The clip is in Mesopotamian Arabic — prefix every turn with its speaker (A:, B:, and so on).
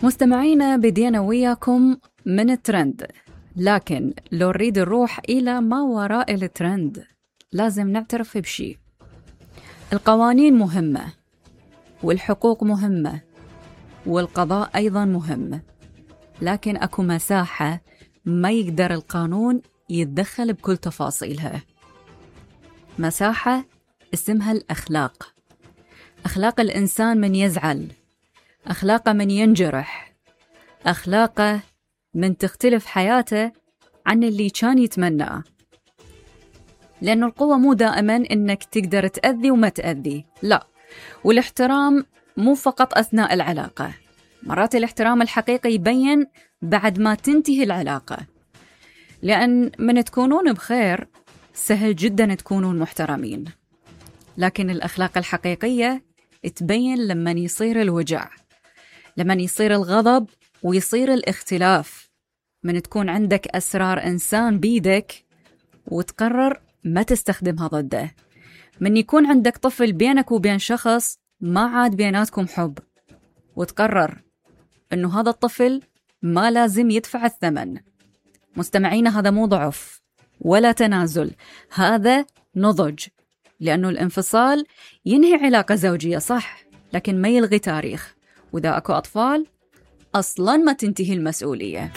A: مستمعينا، بدينا وياكم من الترند، لكن لو نريد نروح إلى ما وراء الترند لازم نعترف بشيء. القوانين مهمة، والحقوق مهمة، والقضاء أيضا مهم، لكن أكو مساحة ما يقدر القانون يتدخل بكل تفاصيلها. مساحة اسمها الأخلاق. أخلاق الإنسان من يزعل، أخلاقه من ينجرح، أخلاقه من تختلف حياته عن اللي كان يتمناه. لأن القوة مو دائما إنك تقدر تأذي وما تأذي، لا. والاحترام مو فقط أثناء العلاقة، مرات الاحترام الحقيقي يبين بعد ما تنتهي العلاقة. لأن من تكونون بخير سهل جدا تكونون محترمين، لكن الأخلاق الحقيقية تبين لما يصير الوجع، لما يصير الغضب ويصير الاختلاف، من تكون عندك أسرار إنسان بيدك وتقرر ما تستخدمها ضده، من يكون عندك طفل بينك وبين شخص ما عاد بيناتكم حب وتقرر إنه هذا الطفل ما لازم يدفع الثمن. مستمعينا، هذا مو ضعف ولا تنازل، هذا نضج. لأنه الانفصال ينهي علاقة زوجية صح، لكن ما يلغي تاريخ، وإذا أكو أطفال أصلاً ما تنتهي المسؤولية.